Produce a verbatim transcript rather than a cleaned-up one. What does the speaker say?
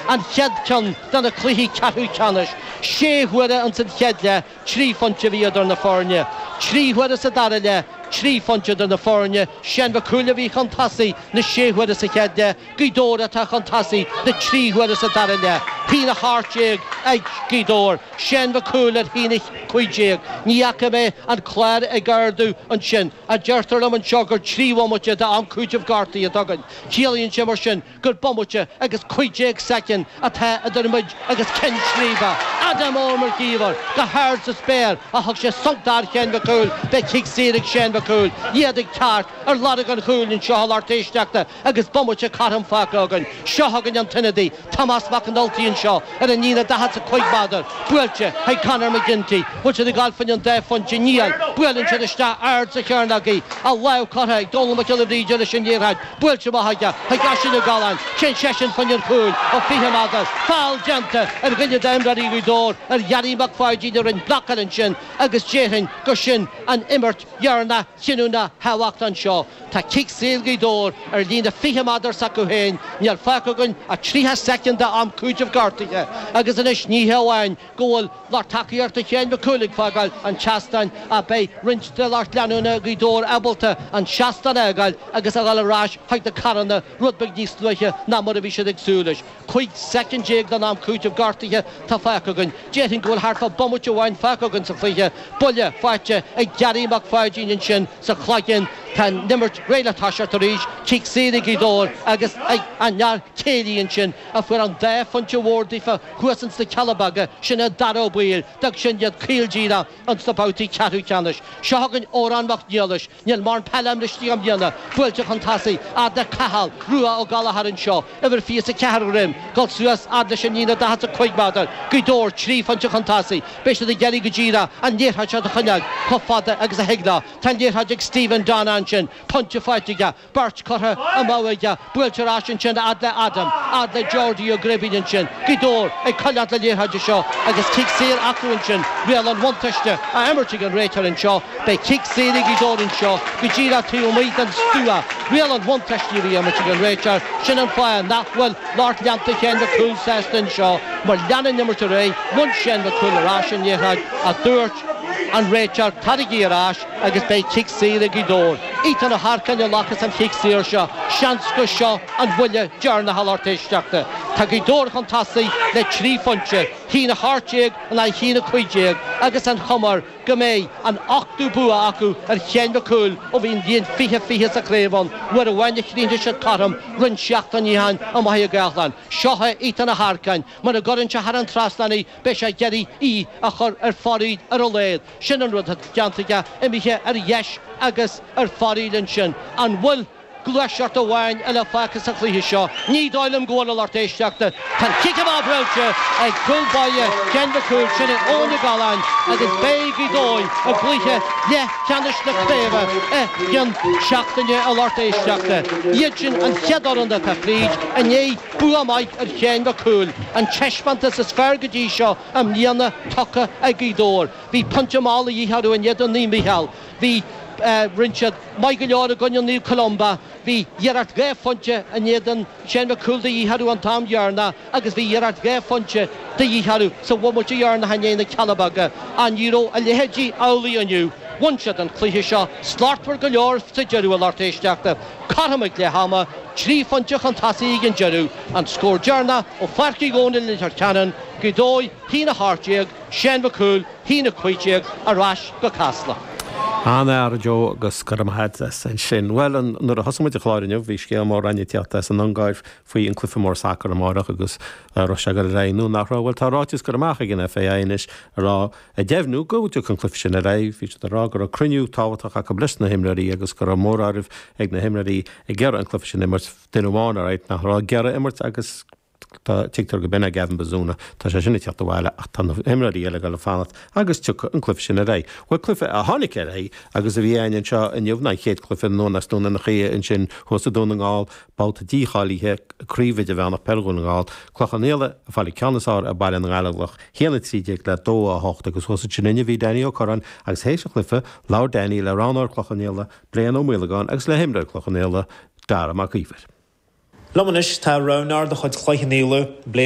An chéad cheann de na cluichí ceathrú ceannais. Sé huaire ins an chéad leath, trí phointe a bhí idir na foirne. Trí huaire sa dara leath, trí phointe idir na foirne. Seán Mac Cumhaill a bhí chun tosaigh na sé huaire sa chéad leath, Gaoth Dobhair atá chun tosaigh na trí huaire sa dara leath. Haon a hocht déag ag Gaoth Dobhair, Seán Mac Cumhaill ar haon a cúig déag. Ní fhaca mé an clár ag ardú ansin. A deirtear liom anseo gur trí bhomaite d'am cúitimh gortaithe atá againn. Ciallaíonn sé mar sin gur bomaite agus cúig déag soicind atá idir muid agus ceann scríbe. Adam Ó Mac Íomhair, go hard sa spéir a thug sé sonc d'fhear Sheáin Mhic Cumhaill, beidh cic saor ag Seán Mac Cumhaill, iad ag teacht ar lorg an chúil anseo a lucht éisteachta agus bomaite cothrom fágtha againn. Seo chugainn an t-ionadaí, Tomás Mac an Ultaigh anseo ar an líne daichead 's a cúig méadar, buailte chuig Conor McGinty. Bhfuil siad ag gabháil fá choinne an dá phointe? Níl. Buaileann siad isteach ard sa chearnóg í. A lámh curtha ag Dónal Mac Giolla Bhríde leis an liathróid. Buailte amach aige chuig Oisín Ó Galláin. Téann seisean fá choinne an chúil ó fiche méadar. Feall déanta ar dhuine d'imreoirí Ghaoth Dobhair, ar Ghearaí Mac Pháidín a rinne blocáil ansin agus déarfainn gur sin an imirt dheireanach chinniúnach thábhachtach anseo. Tá cic saor Ghaoth Dobhair ar líne fiche méadar s'acu féin. Níl fágtha againn ach tríocha soicind d'am cúitimh gortaithe agus anois ní hé amháin go bhfuil lucht tacaíochta Sheáin Mhic Cumhaill ag fágáil an tseastáin ach beidh roinnt de lucht leanúna Ghaoth Dobhair ábalta an seastán a fhágáil agus a dhul ar ais chuig na carranna rud beag níos luaithe ná mar a bhí siad ag súil leis. Cúig soicind déag den am cúitimh gortaithe tá fágtha againn. Déarfainn go bhfuil thart fá bomaite amháin fágtha againn sa chluiche. Buille faighte ag Gearaí Mac Pháidín ansin sa chloigeann. Tá an imirt réidh le toiseacht arís. Cic saor ag Gaoth Dobhair agus ag an fhear céilí ansin a fuair an dá phointe mhór daofa thuas ins na Cealla Beaga, sin é Dara Ó Baoill. D'fhág sin iad caol díreach ins na babhtaí ceathrú ceannais. Seo chugainn Odhrán Mac Niallais. Níl mórán peile imeartha i mbliana. Buailte chun tosaigh, fhad le Cathal Rua Ó Gallchóir anseo, uimhir fiche is a ceathair a dhroim, dul suas fhad leis an líne daichead 's a cúig méadar. Gaoth Dobhair trí phointe chun tosaigh. Beidh siad ag iarraidh go díreach an liathróid seo a choinneáil chomh fada agus a thig leo. Tá an liathróid ag Stephen Donna ansin. Pointe faighte aige. Beirt curtha amú aige. Buailte ar ais ansin fhad le Adam, fhad le Geordie Ó Gribín ansin. Gaoth Dobhair ag coinneáil na liathróide seo agus cic saor acu ansin. Riail an bhuntáiste á imirt ag an réiteoir anseo. Beidh cic saor ag Gaoth Dobhair anseo go díreach taobh amuigh den stua. Riail an bhuntáiste a bhí á imirt ag an réiteoir. Sin an fáth nach bhfuil lucht leanta Sheáin Mhic Cumhaill sásta anseo mar lean an imirt ar aghaidh, bhain Seán Mac Cumhaill ar ais an liathróid ach dúirt an réiteoir taraigí ar ais agus beidh cic saor ag Gaoth Dobhair. Ethan Ó hEarcáin a ghlacfas an chic saor seo. Seans gur seo an bhuille deireanach a lucht éisteachta. Tá Gaoth Dobhair chun tosaigh le trí phointe, haon a hocht déag in aghaidh haon a cúig déag agus an chuma air go mbeidh an ochtú bua acu ar Sheán Mac Cumhaill ó bhí an bhliain fiche fiche sa chraobh ann. Uair amháin a chríochnaigh siad cothrom roinnt seachtainí ó shin amuigh i gCaisleán. Seo é Ethan Ó hEarcáin. Mura gcuireann sé thar an trasnán í, beidh sé ag iarraidh í a chur ar fóraoil ar a laghad. Sin an rud atá déanta aige, imithe ar dheis agus ar fóraoil ansin. An bhfuil gluaiseacht amháin eile fágtha sa chluiche seo? Ní dóigh liom go bhfuil, a lucht éisteachta. Tá an cic amach buailte ag cúl báire Sheáin Mhic Cumhaill, sin é Eoin Ó Galláin, agus beidh Gaoth Dobhair i gcluiche leathcheannais na craoibhe i gcionn seachtaine, a lucht éisteachta. Iad sin an chéad fhoireann atá fríd i ndiaidh bua maith ar Sheán Mac Cumhaill, an taispeántas is fearr go dtí seo i mbliana tugtha ag Gaoth Dobhair. Bhí pointe mall a dhíth orthu in éadan Naomh Mícheál. Bhí rinne siad maith go leor i gcoinne Naomh Columba. Bhí iarracht dhá phointe in éadan Sheán Mac Cumhaill de dhíth orthu an t-am dheireanach agus bhí iarracht dhá phointe de dhíth orthu sa bhomaite dheireanach in aghaidh na Cealla Beaga. Ach ní raibh a leithéidí amhlaidh inniu. Bhain siad an cluiche seo slachtmhar go leor sa deireadh a lucht éisteachta. Cothrom ag leath ama, trí phointe chun tosaigh ag an deireadh. An scór deireanach ó Pháirc Uí Dhónaill i Leitir Ceanainn, Gaoth Dobhair, haon a hocht déag, Seán Mac Cumhaill, haon a cúig déag, ar ais go Casla. An-fhear, a Joe, agus go raibh maith agat as ansin. Bhuel, nuair a thosaigh muid an clár inniu, bhí scéal mór againn ag teacht as an Ungáir faoi an cluiche mór sacair amárach agus raibh sé ag dul ar aghaidh nó nach raibh. Bhuel, tá ráiteas curtha amach ag an FAI anois a rá, ag deimhniú go dtiocfaidh an cluiche sin ar aghaidh. Bhí siad ag rá go raibh cruinniú tábhachtach acu leis na himreoirí agus go raibh móráireamh ag na himreoirí ag iarraidh an cluiche sin a imirt. Duine amháin, alright, nach raibh ag iarraidh imirt agus tá tuigtear go b'in é Gavin Bazunu. Tá sé sin ag teacht abhaile ach tá na himreoirí eile ag dul ag fanacht agus tiocfaidh an cluiche sin ar aghaidh. Bhuel, cluiche a tháinig ar aghaidh agus a bhí againn anseo inniu ná an chéad cluiche anonn as Dún an Chaoi ansin thuas i Dún na nGall, babhta dícháilithe Craobh Idirmheánach Peil Dhún na nGall, Clochán Liath ag fáil an ceann is fearr ar Baile na nGallóglach, haon a trí déag le dó a hocht agus thuas ansin inniu bhí Danny Ó Curráin agus théis an chluiche labhair Danny le roghnóir Clochán Liath, Brian Ó Maolagáin agus le himreoir Clochán Liath, Dara Mac Íomhair. Liom anois tá roghnóir de chuid Chloich Cheann Fhaola, Blaine